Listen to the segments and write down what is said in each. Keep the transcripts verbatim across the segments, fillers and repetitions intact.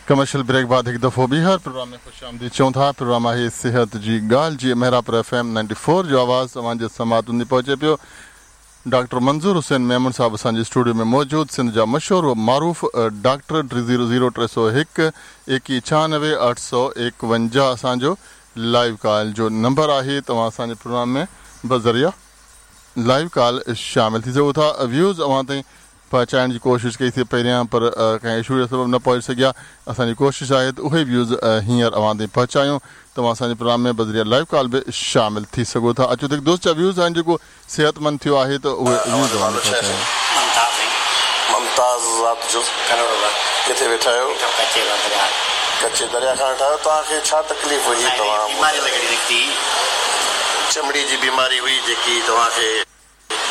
Commercial brake बाद हिकु दफ़ो ॿीहर प्रोग्राम में ख़ुशि आमदीद चऊं था। प्रोग्राम आहे सिहत जी ॻाल्हि, जीअं Mehrabpur F M ninety four जो आवाज़ तव्हांजे समाअतुनि ते पहुचे पियो। डॉक्टर मंज़ूर हुसैन मेमन साहब असांजे स्टूडियो में मौजूद, सिंध जा मशहूर व मारूफ़ डॉक्टर। टे ज़ीरो ज़ीरो टे सौ हिकु एकवीह छियानवे अठ सौ एकवंजाह असांजो लाइव कॉल जो नंबर आहे। तव्हां असांजे प्रोग्राम में बज़रिया लाइव कॉल शामिल थी सघो था। व्यूज़ अव्हां ताईं पहुचाइण जी कोशिशि कईसीं पहिरियां, पर कंहिं इशू जे सबबु न पहुची सघिया। असांजी कोशिशि आहे त उहे व्यूज़ हींअर अव्हां ताईं पहुचायूं। तव्हां असांजे प्रोग्राम में बज़रिया लाइव कॉल बि शामिल थी सघो था। अचो त हिकु दोस्त जा व्यूज़ आहिनि, जेको सिहतमंद थियो आहे त उहे व्यूज़ अव्हां ताईं पहुचायूं। मुमताज़ ज़ात जो किथे वेठा आहियो? कच्चे दरिया खां वेठा आहियो। तव्हांखे छा तकलीफ़ हुई? तव्हां चमड़ी जी बीमारी हुई जेकी तव्हांखे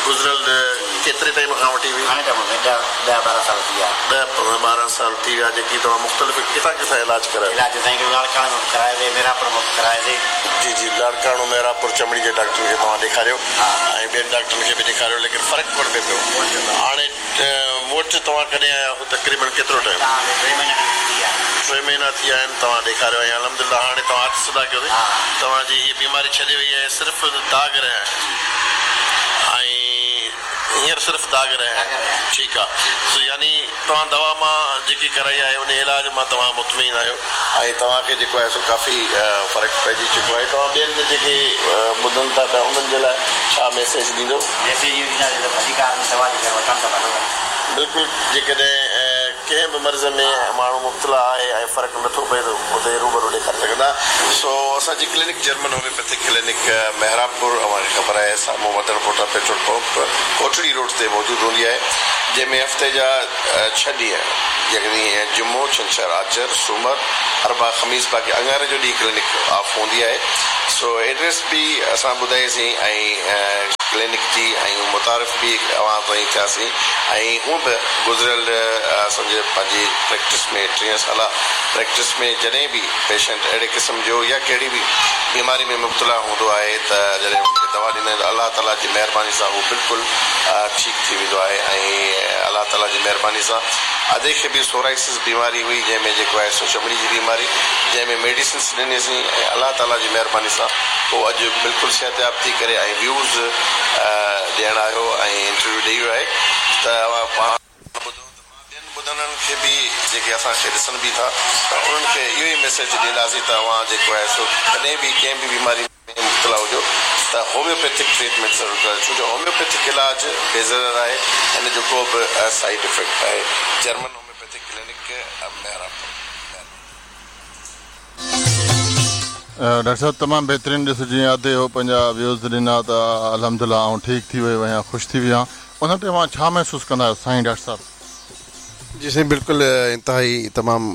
गुज़िरियल केतिरे टाइम खां वठी हुई? ॾह ॿारहं साल थी विया। ॾह ॿारहं साल थी विया। जेकी तव्हां मुख़्तलिफ़ किथां किथां इलाज करायो? इलाज साईं लाड़काणे में करायोसीं, मेरापुर में करायोसीं। जी जी, लाड़काणो मेरापुर चमड़ी जे डॉक्टर खे तव्हां ॾेखारियो ऐं ॿियनि डॉक्टरनि खे बि ॾेखारियो, लेकिन फ़र्क़ु कोन पियो पियो। हाणे मूं वटि तव्हां कॾहिं आया हो? तक़रीबन केतिरो टाइम? टे महीना थी विया आहिनि तव्हां ॾेखारियो ऐं अल्हम्दुलिल्लाह हाणे तव्हां हथु सिधा कयो। तव्हांजी हीअ बीमारी छॾी वई आहे, सिर्फ़ु दाग़ रहिया आहिनि ऐं हींअर सिर्फ़ु दाग़ रहिया आहिनि। ठीकु आहे। सो यानी तव्हां दवा मां जेकी कराई आहे उन इलाज मां तव्हां मुतमिन आहियो ऐं तव्हांखे जेको आहे सो काफ़ी फ़र्क़ु पइजी चुको आहे। तव्हां ॿियनि जेके ॿुधनि था पिया उन्हनि जे लाइ छा मैसेज ॾींदो? बिल्कुलु, जेकॾहिं कंहिं बि मर्ज़ में माण्हू मुब्तला आहे ऐं फ़र्क़ु नथो पए त उते रूबरू ॾेखारे सघंदा। सो असांजी क्लिनिक जर्मन होम्योपैथिक क्लिनिक मेहराबपुर, तव्हांखे ख़बर आहे, साम्हूं Madan Pota petrol pump Kotri road ते मौजूदु हूंदी आहे, जंहिंमें हफ़्ते जा छह ॾींहं, यानी जुम्मो, छंछर, आचर, सूमर, अरबा, ख़मीस, बाक़ी अंगारे जो ॾींहुं क्लिनिक ऑफ़ हूंदी आहे। सो एड्रेस बि असां ॿुधाईसीं ऐं क्लिनिक जी ऐं मुतारिफ़ बि अव्हां ताईं थियासीं। ऐं हूअं बि गुज़िरियल असांजे पंहिंजी प्रैक्टिस में टीह साल प्रैक्टिस में जॾहिं बि पेशेंट अहिड़े क़िस्म जो या कहिड़ी बि बीमारी में मुब्तला हूंदो आहे त जॾहिं हुनखे दवा ॾींदा आहिनि अलाह ताला जी महिरबानी सां हू बिल्कुलु ठीकु थी वेंदो आहे। ऐं अलाह ताला जी महिरबानी सां अदे खे बि सोराइसिस बीमारी हुई, जंहिंमें जेको आहे सो चमड़ी जी बीमारी, जंहिंमें मेडिसिन्स ॾिनीसीं ऐं अलाह ताला जी महिरबानी सां पोइ अॼु बिल्कुलु सिहतयाब थी करे ऐं व्यूज़ ॾियण आयो ऐं इंटरव्यू ॾेई वियो आहे। त पाण ॿुधो त मां ॿियनि ॿुधंदड़नि खे बि जेके असांखे ॾिसनि बि था त उन्हनि खे इहो ई मैसेज ॾींदासीं त तव्हां जेको आहे सो कॾहिं बि कंहिं बि बीमारी में मुब्तला हुजो त होम्योपैथिक ट्रीटमेंट ज़रूरु कयो, छो जो होम्योपैथिक इलाज बेज़रर आहे, हिन जो को बि साइड इफ़ेक्ट आहे। German homeopathic clinic Mehrabpur. Doctor साहब तमामु बहितरीनु ॾिस, जीअं अधे हो पंहिंजा व्यूज़ ॾिना त अल्हम्दुलिल्लाह आउं ठीकु थी वियो आहियां, ख़ुशि थी वियो आहियां। उन ते तव्हां छा महसूसु कंदा आहियो साईं डॉक्टर साहब? जी साईं बिल्कुलु, इंतिहाई तमामु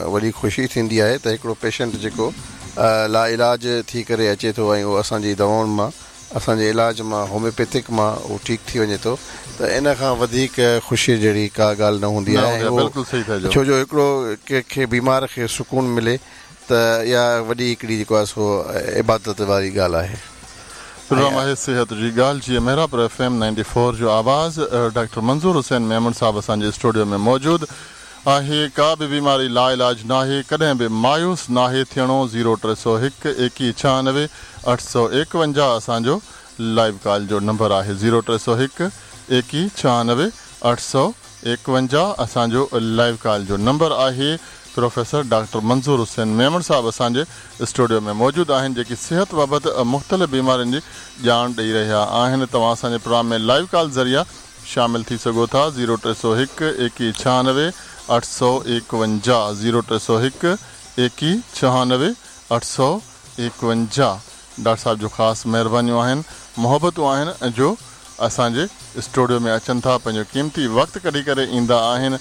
वॾी ख़ुशी थींदी आहे त हिकिड़ो पेशेंट जेको ला इलाज थी करे अचे थो ऐं उहो असांजी दवाउनि मां, असांजे इलाज मां, होम्योपैथिक मां उहो ठीकु थी वञे थो त इन खां वधीक ख़ुशी जहिड़ी का ॻाल्हि न हूंदी आहे। बिल्कुलु सही था, छो जो हिकिड़ो कंहिंखे बीमार खे सुकून मिले त इहा वॾी हिकिड़ी जेको आहे सो इबादत वारी ॻाल्हि आहे। प्रोग्राम आहे सिहत जी ॻाल्हि, जीअं Mehrabpur F M ninety four जो आवाज़। डॉक्टर मंज़ूर हुसैन मेमन साहब असांजे स्टूडियो में मौजूदु आहे। का बि बीमारी ला इलाज नाहे, कॾहिं बि मायूस नाहे थियणो। ज़ीरो टे सौ हिकु एकवीह छियानवे अठ सौ एकवंजाह असांजो लाइव कॉल जो नंबर आहे। ज़ीरो टे सौ हिकु एकवीह छियानवे अठ सौ एकवंजाह असांजो लाइव कॉल जो नंबर आहे। प्रोफेसर डॉक्टर मंज़ूर हुसैन मेमन साहब असांजे स्टूडियो में मौजूदु आहिनि, जेकी सिहत बाबति मुख़्तलिफ़ बीमारियुनि जी ॼाण ॾेई रहिया आहिनि। तव्हां असांजे प्रोग्राम में लाइव कॉल ज़रिया शामिल थी सघो था। ज़ीरो टे सौ हिकु एकवीह छियानवे अठ सौ एकवंजाह, ज़ीरो टे सौ हिकु एकवीह छियानवे अठ सौ एकवंजाह। डॉक्टर साहब जो ख़ासि महिरबानियूं आहिनि, मोहबतूं आहिनि जो असांजे स्टूडियो में अचनि था, पंहिंजो क़ीमती वक़्तु कढी करे ईंदा आहिनि।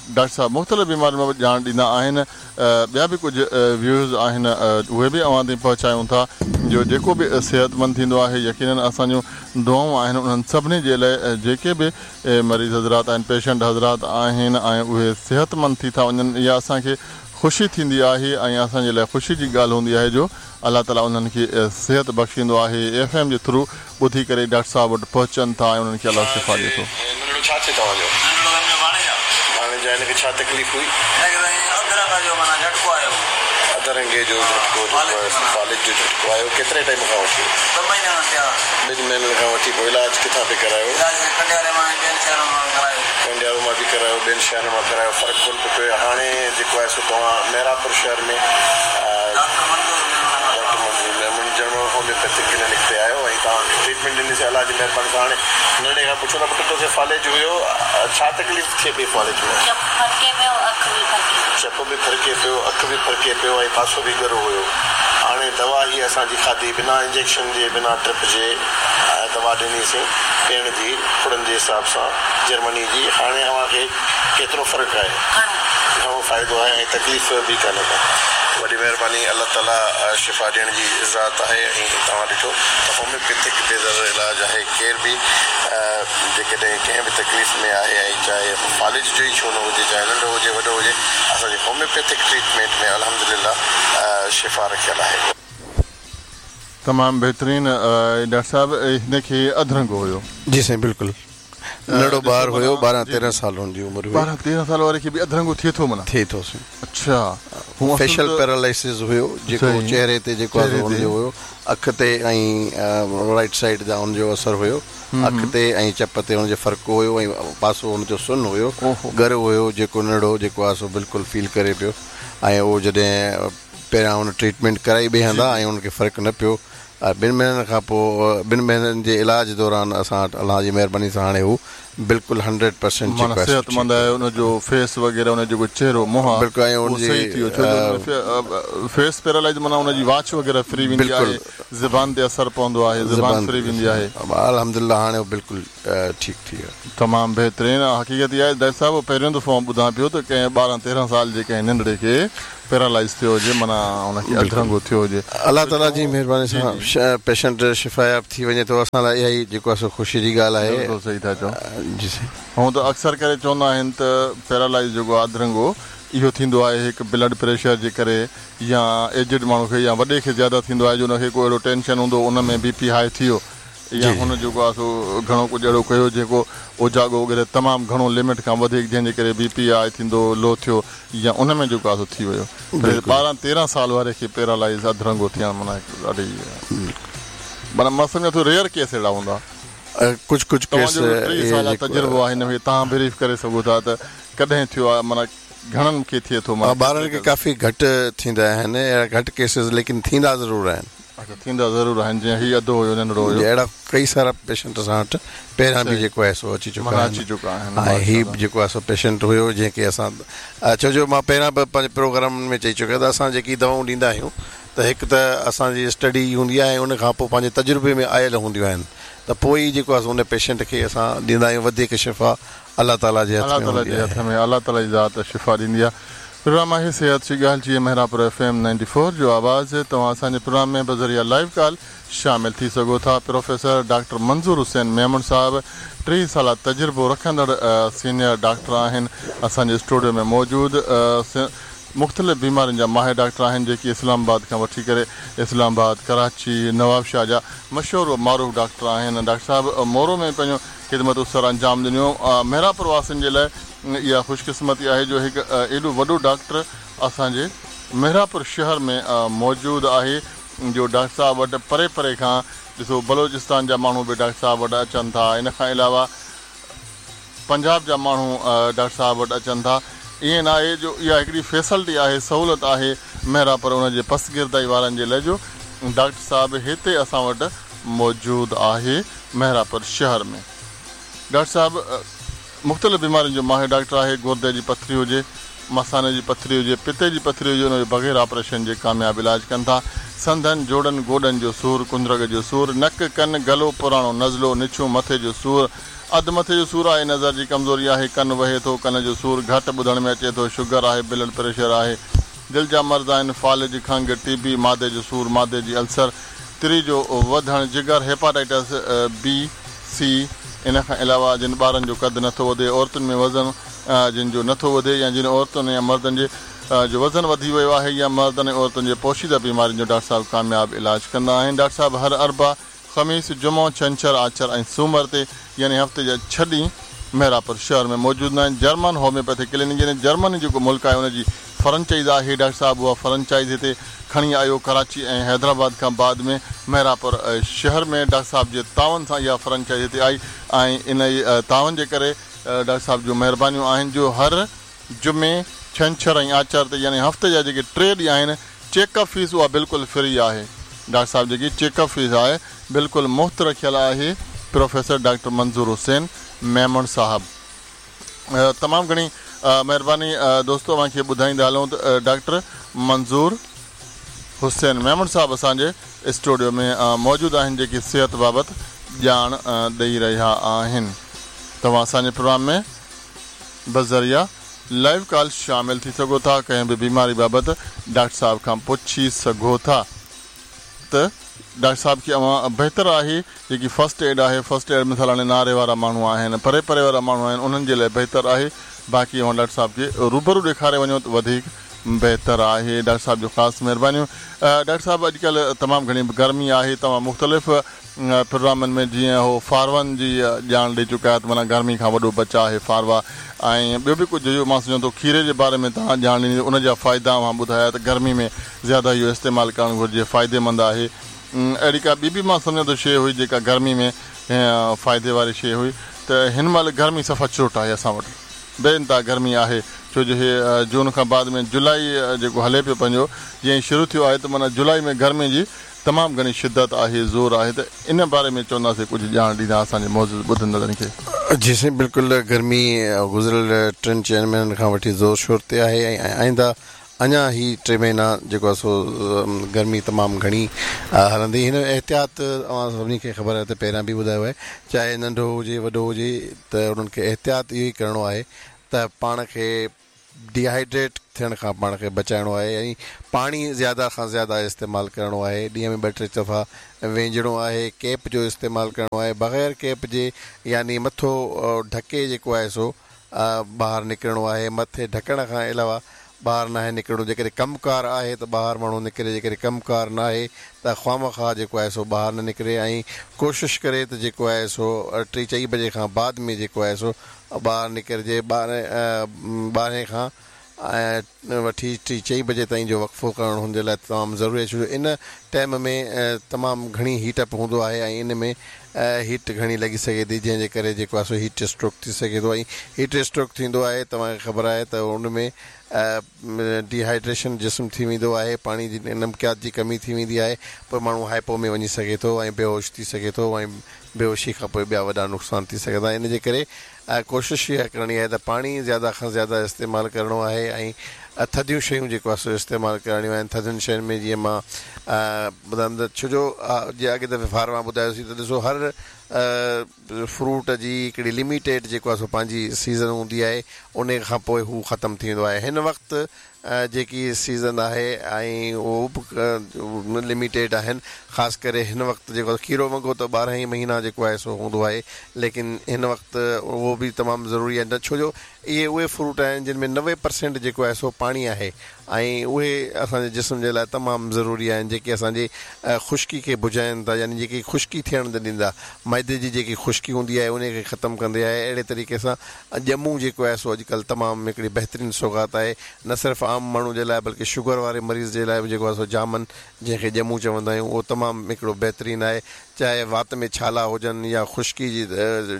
डॉक्टर साहब मुख़्तलिफ़ बीमारियुनि बाबति ॼाण ॾींदा आहिनि। ॿिया बि कुझु व्यूज़ आहिनि, उहे बि अव्हां ताईं पहुचायूं था। जो जेको बि सिहतमंद थींदो आहे, यकीनन असांजूं दुआऊं आहिनि उन्हनि सभिनी जे लाइ जेके बि मरीज़ हज़रात आहिनि, पेशेंट हज़रात आहिनि ऐं उहे सिहतमंद थी था वञनि, इहा असांखे ख़ुशी थींदी आहे ऐं असांजे लाइ ख़ुशी जी ॻाल्हि हूंदी आहे जो अलाह ताला उन्हनि खे सिहत बख़्शींदो आहे। एफ एम जे थ्रू ॿुधी करे डॉक्टर साहब वटि पहुचनि था ऐं उन्हनि खे अलाह शिफ़ा ॾिए थो। छा थिए तव्हांजो? هن کي ڇا تڪليف هئي؟ هن کي سائين اڌ رنگ جو معنيٰ جهٽڪو آيو. اڌ رنگي جو جهٽڪو جيڪو آهي فالج جو جهٽڪو آيو. ڪيتري ٽائيم کان وٺي؟ ٻه مهينا ٿيا. ٻن مهينن کان وٺي. پوءِ علاج ڪٿان پئي ڪرايو؟ علاج ڪنڊياري مان ۽ ٻين شهرن مان ڪرايو. ڪنڊيارو مان به ڪرايو، ٻين شهرن مان ڪرايو، فرق ڪونه پيو پئي. هاڻي جيڪو آهي سو توهان مهراپور شهر ۾ ڊاڪٽر منظور ڊاڪٽر منظور ميمڻ جنرل هوميوپيٿڪ ڪلينڪ تي آيو ۽ توهان کي ٽريٽمينٽ ڏنيسين. الله جي مهرباني سان هاڻي ننڍي کان پڇو ته پٽ توکي فالج هيو، ڇا تڪليف ٿئي پئي فالج ۾؟ چپ ڦرڪي پيو، اک به ڦرڪي. چپ به ڦرڪي پيو، اک به ڦرڪي پيو ۽ پاسو به ڳرو هيو. هاڻي دوا هي اسان جي کاڌي، بنا انجيڪشن جي، بنا ڊرپ جي دوا ڏنيسين پيئڻ جي ڦڙن جي حساب سان جرمني جي. هاڻي اوهان کي ڪيترو فرق آهي؟ گهڻو فائدو آهي ۽ تڪليف به ڪانهي ڪا. وڏي مهرباني. الله تعاليٰ شفا ڏيڻ جي ذات آهي ۽ توهان ڏٺو ته هوميوپيٿڪ بيضر علاج آهي. ڪير به جيڪڏهن ڪنهن به تڪليف ۾ آهي ۽ چاهي فالج جو ئي ڇو نه هجي، چاهي ننڍو هجي وڏو هجي، اسان جي هوميوپيٿڪ ٽريٽمينٽ ۾ الحمدلله شفا رکيل آهي. تمام بهترين. ڊاڪٽر صاحب هن کي اڌ رنگو هيو؟ جي سائين بلڪل، ننڍڙو ٻار هيو، ٻارهن تيرهن سال هن جي عمر هئي. ٻارهن تيرهن سال واري کي به اڌ رنگو ٿئي ٿو؟ معنيٰ ٿئي ٿو سائين. اڇا، فيشل پيرالائسس هيو جيڪو چهري تي جيڪو آهي هن جو هيو، اک تي ۽ رائيٽ سائيڊ جا هن جو اثر هيو، اک تي ۽ چپ تي هن جو فرق هيو ۽ پاسو هن جو سن هيو، ڳرو هيو جيڪو ننڍڙو جيڪو آهي سو بلڪل فيل ڪري پيو. ۽ اهو جڏهن پهريان هن ٽريٽمينٽ ڪرائي ٻئي هنڌان ۽ هن کي فرق نه پيو، ٻن مهينن کان پوءِ ٻن مهينن جي علاج دوران اسان وٽ الله جي مهرباني سان هاڻي هو بلڪل هنڊريڊ پرسينٽ معنيٰ صحتمند آهي. ان جو فيس وغيره، ان جو جيڪو چهرو منهن آهي بلڪل ۽ ان جي صحيح ٿي ويو. ڇو جو فيس پيرالائز معنيٰ ان جي واچ وغيره ڦري ويندي آهي، زبان تي اثر پوندو آهي، زبان ڦري ويندي آهي. الحمدلله هاڻي هو بلڪل ٺيڪ ٿي ويو. تمام بهترين. حقيقت اها آهي ڊاڪٽر صاحب، پهريون دفعو ٻڌان پيو ته ڪنهن ٻارهن تيرهن سال جي ڪنهن ننڍڙي کي پيرالائز ٿيو هجي، معنيٰ هن کي اڌ رنگو ٿيو هجي. الله تعاليٰ جي مهرباني سان پيشنٽ شفاياب ٿي وڃي ٿو، اسان لاءِ اها ئي جيڪو آهي سو خوشي جي ڳالهه آهي. بلڪل صحيح ٿا چئو. جي سائين. هونئن ته اڪثر ڪري چوندا آهن ته پيرالائز جيڪو آهي اڌ رنگو اهو ٿيندو آهي هڪ بلڊ پريشر جي ڪري يا ايجڊ ماڻهو کي يا وڏي کي زياده ٿيندو آهي جو هن کي ڪو اهڙو ٽينشن هوندو ان ۾ بي پي هاءِ ٿي ويو يا هن جيڪو آهي سو گهڻو ڪجهه اهڙو ڪيو جيڪو اوجاڳو وغيره تمام گهڻو لمٽ کان وڌيڪ، جنهن جي ڪري بي پي هاءِ ٿيندو لو ٿيو يا ان ۾ جيڪو آهي سو ٿي ويو. ٻارهن تيرهن سال واري کي پيرالائز اڌ رنگو ٿيڻ معنيٰ ڏاڍي معنيٰ مان سمجهان ٿو ريئر ڪيس اهڙا هوندا. ڪجهه ڪجهه ڪيس ٽيهه سال تجربو آهي هن ۾، توهان بريف ڪري سگهو ٿا ته ڪڏهن ٿيو آهي، معنيٰ گهڻن کي ٿئي ٿو؟ ٻارن کي ڪافي گهٽ ٿيندا آهن اهڙا گهٽ ڪيسز، ليڪن ٿيندا ضرور آهن. اڇا، ٿيندا ضرور آهن. جيئن هيءُ اڌو هيو ننڍڙو هيو، اهڙا ڪئي سارا پيشنٽ اسان وٽ پهريان به جيڪو آهي سو اچي چڪا آهن. اچي چڪا آهن. ۽ هيءُ جيڪو آهي سو پيشنٽ هيو جنهن کي اسان ڇو جو مان پهريان به پنهنجي پروگرامن ۾ چئي چڪو آهيان ته اسان جيڪي دوائون ڏيندا آهيون ته هڪ ته اسان جي اسٽڊي هوندي آهي ۽ ان کان پوءِ پنهنجي تجربي ۾ آيل هونديون آهن ته پوءِ ئي جيڪو آهي سو ان پيشنٽ کي اسان ڏيندا آهيون. وڌيڪ شفا الله تعاليٰ جي الله تعاليٰ جي هٿ ۾، الله تعاليٰ جي ذات شفا ڏيندي آهي. پروگرام آهي صحت جي ڳالهه جيئن Mehrabpur F M ninety four جو آواز. توهان اسان جي پروگرام ۾ بذريعا لائيو ڪال شامل ٿي سگهو ٿا. پروفيسر ڊاڪٽر منظور حسين ميمڻ صاحب ٽيهه سال تجربو رکندڙ سينيئر ڊاڪٽر آهن، اسان جي اسٽوڊيو ۾ موجود. مختلف بيمارين جا ماهر ڊاڪٽر آهن جيڪي اسلام آباد کان وٺي ڪري اسلام آباد، ڪراچي، نوابشاهه جا مشهور و معروف ڊاڪٽر آهن. ڊاڪٽر صاحب مورو ۾ پنهنجو خدمتون سر انجام ڏنيون. مهراپور واسين جي لاءِ اها خوشقسمتي آهي جو هڪ ايڏو وڏو ڊاڪٽر اسان جي مهراپور شهر ۾ موجود آهي، جو ڊاڪٽر صاحب وٽ پري پري کان ڏسو بلوچستان جا ماڻهو به ڊاڪٽر صاحب وٽ اچن ٿا، ان کان علاوه پنجاب جا ماڻهو ڊاڪٽر صاحب وٽ اچن ٿا. ائين نه آهي جو اها هڪڙي فيسلٽي آهي، سهوليت آهي مهراپور ان جي پسگردائي وارن جي لاءِ جو ڊاڪٽر صاحب هتي اسان وٽ موجود آهي مهراپور شهر ۾. ڊاڪٽر صاحب مختلف بيمارين جو ماهر ڊاڪٽر آهي. گردي جي پٿري هجي، مثاني جي پٿري هجي، پتي جي پٿري هجي، ان جو بغير آپريشن جي ڪامياب علاج ڪن ٿا. سنڌن، جوڙن، گوڏن جو سور، ڪندرگ جو سور، نڪ، ڪن، گلو، پراڻو نزلو، نڇون، مٿي جو سور، اڌ مٿي جو سور آهي، نظر جي ڪمزوري آهي، ڪن وهي ٿو، ڪن جو سور گهٽ ٻڌڻ ۾ اچي ٿو، شگر آهي، بلڊ پريشر آهي، دل جا مرض آهن، فالج، کنگهه، ٽي بي، مادي جو سور، مادي جي السر، تري جو وڌڻ، جگر، هيپاٽائٽس بي سي، ان کان علاوه جن ٻارن جو قد نٿو وڌي، عورتن ۾ وزن جن جو نٿو وڌي يا جن عورتن يا مردن جي جو وزن وڌي ويو آهي يا مردن ۽ عورتن جي پوشيده بيمارين جو ڊاڪٽر صاحب ڪامياب علاج ڪندا آهن. ڊاڪٽر صاحب هر اربع، خميس، جمعو، ڇنڇر، آچر ۽ سومر تي يعني هفتي جا ڇهه ڏينهن मेहरापुर शहर में मौजूद आहिनि। जर्मन होम्योपैथिक क्लिनिक यानी जर्मनी जेको मुल्क आहे उनजी फ्रेंचाइज़ आहे। डॉक्टर साहब उहा फ्रेंचाइज़ हिते खणी आयो कराची ऐं हैदराबाद खां बाद में मेहरापुर शहर में डॉक्टर साहब जे तावन सां इहा फ्रेंचाइज़ हिते आई ऐं इन तावन जे करे डॉक्टर साहब जूं महिरबानियूं आहिनि जो हर जुमे छंछर ऐं आचार ते यानी हफ़्ते जा जेके टे ॾींहं आहिनि चेकअप फीस उहा बिल्कुलु फ्री आहे। डॉक्टर साहब जेकी चेकअप फीस आहे बिल्कुलु मुफ़्त रखियल आहे। प्रोफेसर डॉक्टर मंज़ूर हुसैन मेमण साहब तमामु घणी महिरबानी। दोस्तो तव्हांखे ॿुधाईंदा हलूं त डॉक्टर मंज़ूर हुसैन मेमण साहब असांजे स्टूडियो में मौजूदु आहिनि जेके सिहत बाबति ॼाण ॾेई रहिया आहिनि। तव्हां असांजे प्रोग्राम में बज़रिया लाइव कॉल शामिल थी सघो था, कंहिं बि बीमारी बाबति डॉक्टर साहब खां पुछी सघो था। त डॉक्टर साहब खे अवां बहितर आहे जेकी फर्स्ट एड आहे, फर्स्ट एड मिसाल हाणे नारे वारा माण्हू आहिनि, परे परे वारा माण्हू आहिनि, उन्हनि जे लाइ बहितर आहे। बाक़ी अवां डॉक्टर साहब खे रूबरू ॾेखारे वञो त वधीक बहितर आहे। डॉक्टर साहब जो ख़ासि महिरबानियूं। डॉक्टर साहब अॼुकल्ह तमामु घणी गर्मी आहे, तव्हां मुख़्तलिफ़ प्रोग्रामनि में जीअं हो फारवन जी ॼाण ॾेई चुका आहियो त माना गर्मी खां वॾो बचाव आहे फारवा, ऐं ॿियो बि कुझु इहो मां सम्झां थो खीरे जे बारे में तव्हां ॼाण ॾिनी, उन जा फ़ाइदा तव्हां ॿुधाया त गर्मी में ज़्यादा इहो इस्तेमालु करणु घुरिजे, फ़ाइदेमंद आहे। अहिड़ी का ॿी बि मां सम्झां थो शइ हुई जेका गर्मी में फ़ाइदे वारी शइ हुई। त हिन महिल गर्मी सफ़ा चोट आहे असां वटि, बेइंतहा गर्मी आहे, छो जो हे जून खां बाद में जुलाई जेको हले पियो पंहिंजो जीअं शुरू थियो आहे त माना जुलाई में गर्मी जी तमामु घणी शिदत आहे, ज़ोर आहे। त इन बारे में चवंदासीं कुझु ॼाण ॾींदा असांजे मौजूद ॿुधंदड़नि खे। जी साईं बिल्कुलु, गर्मी गुज़िरियल टिनि चइनि महीननि खां वठी ज़ोर शोर ते आहे ऐं आइंदा अञा ही टे महीना जेको आहे सो गर्मी तमामु घणी हलंदी। हिन एहतियात अवां सभिनी खे ख़बर आहे त पहिरियां बि ॿुधायो आहे, चाहे नंढो हुजे वॾो हुजे त उन्हनि खे एहतियात इहो ई करिणो आहे त पाण खे डिहाइड्रेट थियण खां पाण खे बचाइणो आहे ऐं पाणी ज़्यादा खां ज़्यादा इस्तेमालु करिणो आहे। ॾींहं में ॿ टे दफ़ा वेंजणो आहे, कैप जो इस्तेमालु करिणो आहे, बग़ैर कैप जे यानी मथो ढके जेको आहे सो ॿाहिरि निकिरणो आहे। मथे ढकण खां अलावा ॿाहिरि न आहे निकिरणो। जेकॾहिं कमु कार आहे त ॿाहिरि माण्हू निकिरे, जेकॾहिं कमु कार न आहे त ख़्वामख़्वाह जेको आहे सो ॿाहिरि न निकिरे ऐं कोशिशि करे त जेको आहे सो टे चई बजे खां बाद में जेको आहे सो ॿाहिरि निकिरिजे। ॿारहें ॿारहें खां ऐं वठी टे चई बजे ताईं जो वक़्फ़ो करणु हुनजे लाइ तमामु ज़रूरी आहे, छो जो इन टाइम में तमामु घणी हीट अप हूंदो आहे ऐं इन में हीट घणी लॻी सघे थी, जंहिंजे करे जेको आहे सो हीट स्ट्रोक थी सघे थो। ऐं हीट स्ट्रोक थींदो आहे तव्हांखे ख़बर आहे त उन में डिहाइड्रेशन जिस्म थी वेंदो आहे, पाणी जी नमकियात जी कमी थी वेंदी आहे, पोइ माण्हू हाइपो में वञी सघे थो ऐं बेहोश थी सघे थो ऐं बेहोशी खां पोइ ॿिया वॾा नुक़सान थी सघंदा। इन जे करे कोशिशि इहा करणी आहे त पाणी ज़्यादा खां ज़्यादा इस्तेमालु करिणो आहे ऐं थधियूं शयूं जेको आहे सो इस्तेमालु करणियूं आहिनि। थधियुनि शयुनि में जीअं मां ॿुधायमि त छो जो जीअं अॻे दफ़े फार मां ॿुधायोसीं त ॾिसो हर फ्रूट जी हिकिड़ी लिमिटेड जेको आहे सो पंहिंजी सीज़न हूंदी आहे, उन खां पोइ हू ख़तमु थी वेंदो आहे। हिन वक़्तु जेकी सीज़न आहे ऐं उहो बि लिमिटेड आहिनि, ख़ासि करे हिन वक़्तु जेको खीरो वङो त ॿारहं ई महीना जेको आहे सो हूंदो आहे, लेकिन हिन वक़्तु उहो बि तमामु ज़रूरी आहे। न छो जो इहे उहे फ्रूट आहिनि जिन में नवे परसेंट जेको आहे सो पाणी आहे ऐं उहे असांजे जिस्म जे लाइ तमामु ज़रूरी आहिनि, जेके असांजी ख़ुश्की खे बुझाइनि था, यानी जेकी ख़ुश्की थियण न ॾींदा, मैदे जी जेकी ख़ुश्की हूंदी आहे उनखे ख़तमु कंदी आहे। अहिड़े तरीक़े सां ॼमूं जेको आहे सो अॼुकल्ह तमामु हिकिड़ी बहितरीन सौगात आहे, न सिर्फ़ु आम माण्हू जे लाइ बल्कि शुगर वारे मरीज़ जे लाइ बि जेको आहे सो जामन जंहिंखे ॼमूं चवंदा आहियूं उहो तमामु हिकिड़ो बहितरीन आहे। चाहे वात में छाला हुजनि या ख़ुश्की जी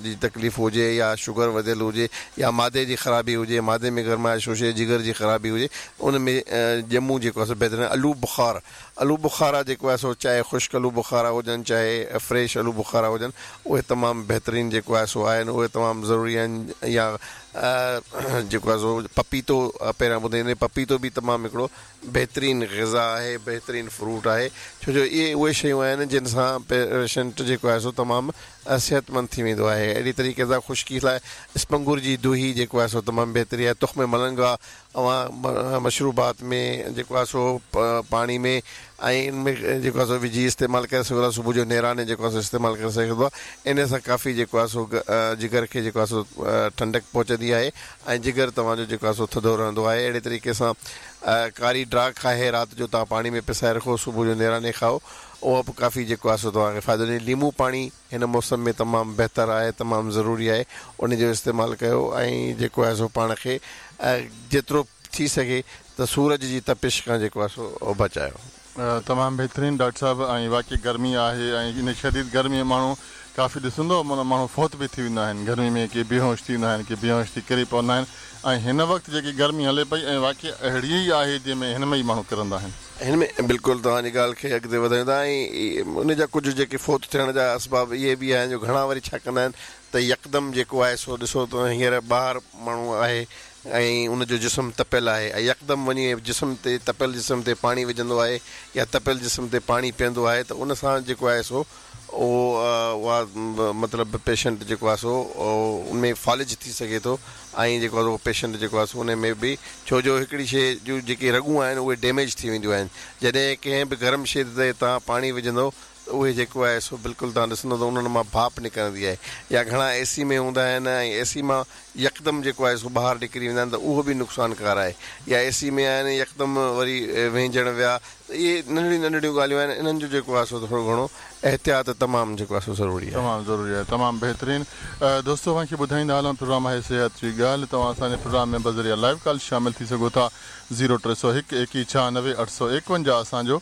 जी तकलीफ़ हुजे या शुगर वधियल हुजे या मादे जी ख़राबी हुजे, मादे में गरमाइश हुजे, जिगर जी ख़राबी हुजे, उन में ॼमूं जेको आहे सो बहितरीन। आलू बुखार, आलू बुखारा जेको आहे सो चाहे ख़ुश्क आलू बुखारा हुजनि चाहे फ्रेश आलू बुखारा हुजनि, उहे तमामु बहितरीन जेको आहे सो आहिनि, उहे तमामु ज़रूरी आहिनि। या जेको आहे सो पपीतो पहिरियां ॿुधाईंदे, पपीतो बि तमामु हिकिड़ो बहितरीन ग़िज़ा आहे, बहितरीन फ्रूट आहे, छो जो इहे उहे शयूं आहिनि जिन सां पेशेंट जेको आहे सो तमामु सिहतमंद थी वेंदो आहे। अहिड़ी तरीक़े सां ख़ुश्की लाइ इस्पंगुर जी दूही जेको आहे सो तमामु बहितरीन आहे। तुख़्म मलंगा अवां मशरूबात में जेको आहे सो पाणी में ۽ ان ۾ جيڪو آهي سو وجهي استعمال ڪري سگهو ٿا. صبح جو نيراني جيڪو آهي سو استعمال ڪري سگهو ٿا. ان سان ڪافي جيڪو آهي سو جگر کي جيڪو آهي سو ٺنڊڪ پهچندي آهي ۽ جگر توهان جو جيڪو آهي سو ٿڌو رهندو آهي. اهڙي طريقي سان ڪاري ڊراک آهي، رات جو توهان پاڻي ۾ پسائي رکو، صبح جو نيراني کائو، اهو به ڪافي جيڪو آهي سو توهان کي فائدو ڏيندي. ليمو پاڻي هن موسم ۾ تمام بهتر آهي، تمام ضروري آهي، ان جو استعمال ڪيو ۽ جيڪو آهي سو پاڻ کي جيترو ٿي سگهي ته سورج جي تپش کان جيڪو آهي سو بچايو. تمام بهترين ڊاڪٽر صاحب. ۽ واقعي گرمي آهي ۽ ان شديد گرمي ۾ ماڻهو ڪافي ڏسندو معنيٰ ماڻهو فوت به ٿي ويندا آهن گرمي ۾، ڪي بيهوش ٿي ويندا آهن، ڪي بيهوش ٿي ڪري پوندا آهن. ۽ هن وقت جيڪي گرمي هلي پئي ۽ واقعي اهڙي ئي آهي جنهن ۾ هن ۾ ئي ماڻهو ڪرندا آهن. هن ۾ بلڪل توهان جي ڳالهه کي اڳتي وڌايون ٿا ۽ ان جا ڪجهه جيڪي فوت ٿيڻ جا اسباب اهي به آهن جو گهڻا وري ڇا ڪندا آهن ته يڪدم جيڪو آهي سو ڏسو ته هينئر ٻاهر ماڻهو آهي ۽ ان جو جسم تپيل آهي ۽ يڪدم وڃي جسم تي تپيل جسم تي پاڻي وجهندو آهي يا تپيل جسم تي پاڻي پيئندو آهي ته ان سان جيڪو آهي سو اهو اها مطلب پيشنٽ جيڪو آهي سو ان ۾ فالج ٿي سگهي ٿو ۽ جيڪو آهي سو پيشنٽ جيڪو آهي سو ان ۾ به ڇو جو هڪڙي شيءِ جون جيڪي رڳون آهن اهي ڊيميج ٿي وينديون آهن. جڏهن ڪنهن به گرم شيءِ تي توهان پاڻي وجهندو ته اهي جيڪو آهي سو بلڪل توهان ڏسندو ته انهن مان ڀاپ نڪرندي آهي يا گهڻا اي سي ۾ هوندا آهن ۽ اي سي مان يڪدم جيڪو آهي سو ٻاهر نڪري ويندا آهن ته اهو به نقصانڪار آهي. يا اي سي ۾ آهن يڪدم وري وهنجڻ ويا ته اهي ننڍڙيون ننڍڙيون ڳالهيون آهن، انهن جو جيڪو آهي سو ٿورو گهڻو احتياط تمام جيڪو آهي سو ضروري آهي. تمام ضروري آهي. تمام بهترين دوستو، اوهان کي ٻڌائيندا هلون پروگرام آهي صحت جي ڳالهه. توهان اسان جي پروگرام ۾ بذريعا لائيو ڪال شامل ٿي سگهو ٿا. زيرو ٽي سؤ هڪ ايڪيهه ڇهانوي اٺ سؤ ايڪونجاهه اسان جو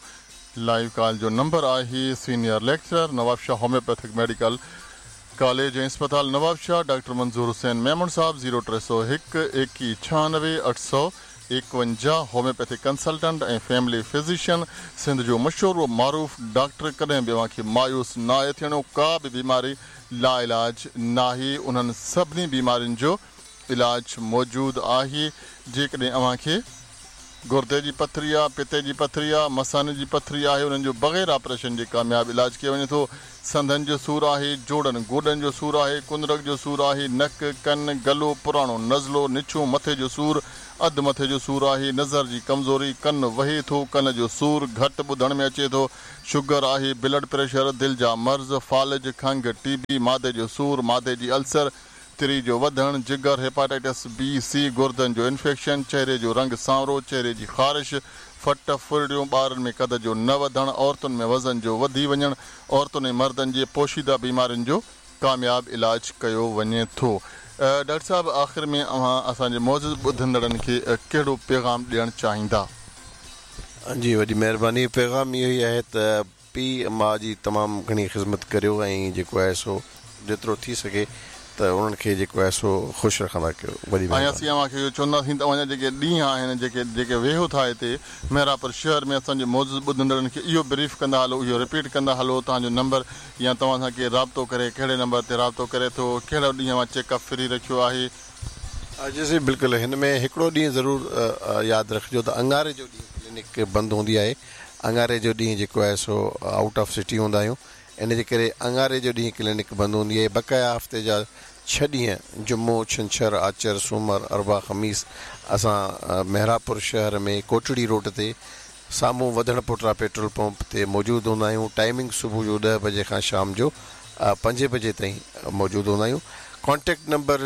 لائيو ڪال جو نمبر آهي. Senior lecturer Nawabshah homeopathic medical college ۽ اسپتال نوابشاهه ڊاڪٽر منظور حسين ميمڻ صاحب زيرو ٽي سؤ هڪ ايڪيهه ڇهانوي اٺ سؤ ايڪونجاهه homeopathic consultant ۽ family physician, Sindh جو مشهور و معروف ڊاڪٽر. ڪڏهن به اوهان کي مايوس ناهي ٿيڻو، ڪا به بيماري لا علاج ناهي، انهن سڀني بيمارين جو علاج موجود آهي. جيڪڏهن اوهان کي گردي جي پٿري آهي، پتي جي پٿري آهي، مثاني جي پٿري آهي، انهن جو بغير آپريشن جي ڪامياب علاج ڪيو وڃي ٿو. سنڌن جو سور آهي، جوڙن گوڏن جو سور آهي، ڪنرڪ جو سور آهي، نڪ ڪن گلو پراڻو نزلو نڇون مٿي جو سور، اڌ مٿي جو سور آهي، نظر جي ڪمزوري، ڪن وهي ٿو، ڪن جو سور گهٽ ٻڌڻ ۾ اچي ٿو، شگر آهي، بلڊ پريشر، دل جا مرض، فالج، کنگهه، ٽي بي، مادي جو سور، مادي جي السر، تري جو وڌڻ، جگر، هيپاٽائٽس بي سي، گردن جو انفيڪشن، چهري جو رنگ سانورو، چهري جي خارش، ڦٽ ڦرڙيون، ٻارن ۾ قد جو نه وڌڻ، عورتن ۾ وزن جو وڌي وڃڻ، عورتن ۽ مردن جي پوشيده بيمارين جو ڪامياب علاج ڪيو وڃي ٿو. ڊاڪٽر صاحب، آخر ۾ اوهان اسان جي معزز ٻڌندڙن کي ڪهڙو پيغام ڏيڻ چاهيندا؟ جي وڏي مهرباني. پيغام اهو ئي آهي ته پيءُ ماءُ جي تمام گهڻي خدمت ڪريو ۽ جيڪو آهي سو جيترو ٿي سگهي ته انهن کي جيڪو آهي سو خوش رکندا ڪيو. وڏي ۽ مهرباني. اسين اوهان کي اهو چونداسين ته اوهان جا جيڪي ڏينهن آهن، جيڪي جيڪي ويهو ٿا هتي مهراپور شهر ۾ اسان جي معزز ٻڌندڙن کي اهو بريف ڪندا هلو، اهو رپيٽ ڪندا هلو، توهان جو نمبر يا توهان سان ڪير رابطو ڪري ڪهڙي نمبر تي رابطو ڪري ٿو، ڪهڙو ڏينهن اوهان چيڪ اپ فري رکيو آهي؟ جي سائين بلڪل، هن ۾ هڪڙو ڏينهن ضرور ياد رکجو ته اڱاري جو ڏينهن ڪلينڪ بند هوندي آهي. اڱاري جو ڏينهن جيڪو آهي سو آئوٽ آف سٽي هوندا آهيون، ان جي ڪري اڱاري جو ڏينهن ڪلينڪ بند هوندي آهي. بقايا هفتي جا ڇهه ڏينهن جمعو، ڇنڇر، آچر، سومر، اربع، خميس اسان مهراپور شهر ۾ ڪوٽڙي روڊ تي سامهون وڌڻ پوٽرا پيٽرول پمپ تي موجود هوندا آهيون. ٽائيمنگ صبح جو ڏهه بجي کان شام جو پنجين بجي تائين موجود هوندا آهيون. ڪانٽيڪٽ نمبر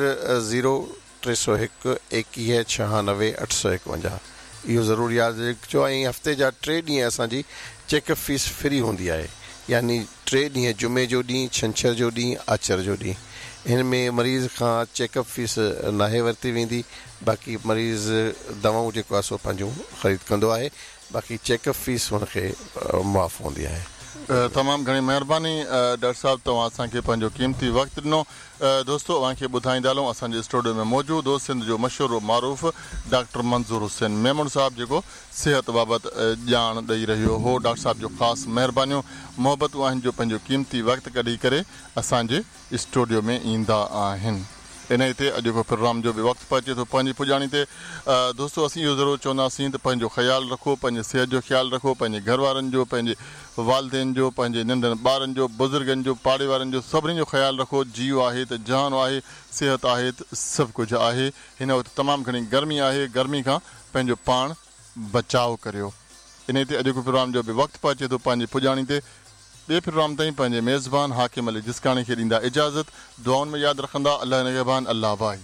زيرو ٽي سؤ هڪ ايڪويهه ڇهانوي اٺ سؤ ايڪونجاهه اهو ضرور ياد رکجو. ۽ هفتي جا ٽي ڏينهن اسان جي چيڪ اپ فيس فري هوندي آهي، يعني ٽي ڏينهن جمعي جو ڏينهن، ڇنڇر جو ڏينهن، آچر جو ڏينهن. هن ۾ مريض کان چيڪ اپ فيس ناهي ورتي ويندي، باقي مريض دوائون جيڪو آهي سو پنهنجون خريد ڪندو آهي، باقي چيڪ اپ فيس هن کي معاف هوندي آهي. تمام گهڻي مهرباني ڊاڪٽر صاحب، توهان اسان کي پنهنجو قيمتي وقت ڏنو. دوستو اوهان کي ٻڌائيندا هلون اسان جي اسٽوڊيو ۾ موجود هو سنڌ جو مشهور و معروف ڊاڪٽر منظور حسين ميمڻ صاحب، جيڪو صحت بابت ڄاڻ ڏئي رهيو هو. ڊاڪٽر صاحب جو خاص مهربانيون محبتون آهن جو پنهنجو قيمتي وقت ڪڍي ڪري اسان جي اسٽوڊيو ۾ ايندا آهن. ان تي اڄوڪو پروگرام جو به وقت پهچي ٿو پنهنجي پڄاڻي تي. دوستو اسين اهو ضرور چونداسين ته پنهنجو خيال رکو، پنهنجي صحت جو خيال رکو، پنهنجي گهر وارن جو، پنهنجي والدين جو، پنهنجي ننڍن ٻارن جو، بزرگن جو، پاڙي وارن جو، سڀني جو خيال رکو. جيءُ آهي ته جهان آهي، صحت آهي ته سڀ ڪجهه آهي. هن وقت تمام گهڻي گرمي آهي، گرمي کان پنهنجو پاڻ بچاءُ ڪريو. ان تي اڄوڪو प्रोग्राम जो बि वक़्तु पहुचे थो पंहिंजी पुॼाणी ते। ॿिए प्रोग्राम ताईं पंहिंजे मेज़बान हाकिम अली जिस्काणी खे ॾींदा इजाज़त। दुआउनि में यादि रखंदा। अलाह निगहबान। अलाह भाई।